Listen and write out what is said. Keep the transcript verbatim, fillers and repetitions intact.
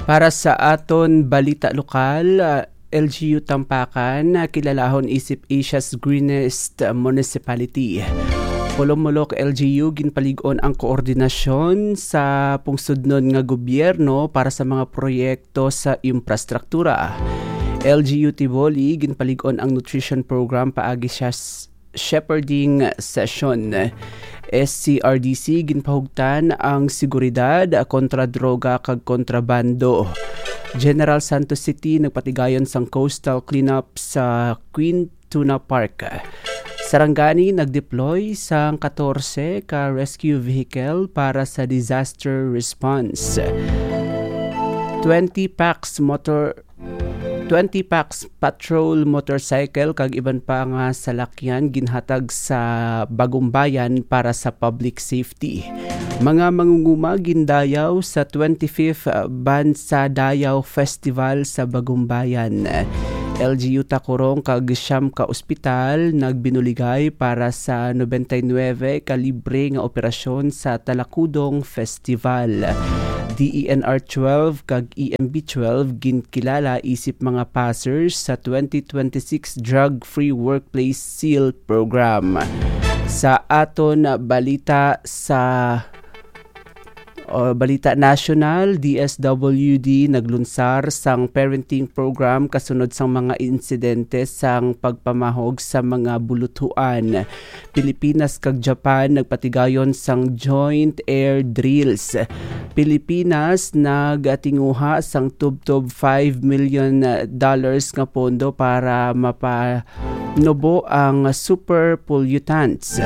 Para sa aton balita lokal, ah, L G U Tampakan, ah, kilalahon isip Asia's Greenest Municipality. Polomolok L G U, ginpalig-on ang koordinasyon sa pungsodnon nga gobyerno para sa mga proyekto sa infrastruktura. L G U Tivoli, ginpalig-on ang nutrition program paagi sa s-, shepherding session. S C R D C, ginpahugtan ang seguridad kontra droga kag kontrabando. General Santos City, nagpatigayon sang coastal cleanup sa Queen Tuna Park. Sarangani, nag-deploy sang katorse ka rescue vehicle para sa disaster response. Twenty Pax motor, twenty Pax patrol motorcycle kag iban pa nga salakyan ginhatag sa Bagumbayan para sa public safety. Mga mangunguma gindayaw sa twenty-fifth Bansa Dayaw Festival sa Bagumbayan. L G U Tacorong kag siyam ka ospital nagbinuligay para sa nobenta y nuebe ka libre nga operasyon sa Talakudong Festival. D E N R twelve kag E M B twelve ginkilala isip mga passers sa twenty twenty-six Drug Free Workplace Seal Program. Sa aton balita sa, o, balita nasyonal, D S W D naglunsar sang parenting program kasunod sang mga insidente sang pagpamahog sa mga buluthuan. Pilipinas kag Japan nagpatigayon sang joint air drills. Pilipinas nagatinguha sang tubtob five million dollars nga pondo para mapanubo ang super pollutants.